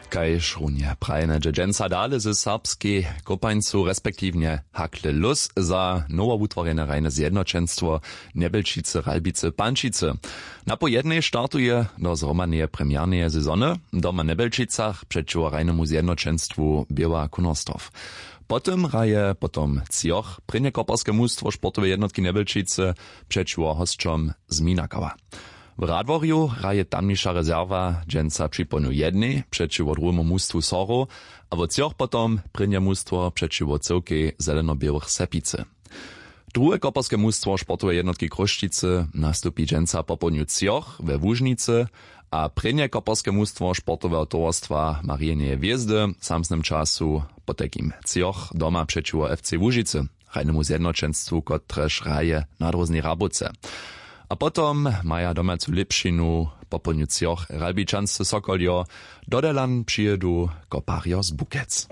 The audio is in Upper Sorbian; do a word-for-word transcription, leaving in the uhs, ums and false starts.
Kaž runje prajene dźe dźensa dale ze serbskej kopańcu respektiwnje hakle lus za nowowutworjene hrajne zjednoćenstwo njebelčicy ralbicy pančicy. Napoł jednej startuje do zhromadneje premjerneje sezony doma w njebelčicach přećiwo hrajnemu zjednoćenstwu běła kunorstorf. Potom hraje potom třoch prěnjekoperske mustwo sportoweje jednotki njebelčicy přećiwo hosćom z minakawa. W radworju hraje tamniša rezerwa dźensa připołdnju jednej přećiwo druhemu mustwu sorow, a wo třoch potom prěnje mustwo přećiwo cyłkej zelenoběłych sepicy. Druhe koperske mustwo sportoweje jednotki chrósćicy nastupi dźensa popołdnju třoch we łužnicy, a prěnje koperske mustwo sportoweho towarstwa marijeneje hwězdy w samsnym času potajkim třoch doma přećiwo fc łužicy, hrajnemu zjednoćenstwu kotrež hraje na dróznej rabowce. A potom maja domacu lěpšinu popołdnju třoch ralbičansce sokoljo. Dodelan přijědu koparjo z bukec.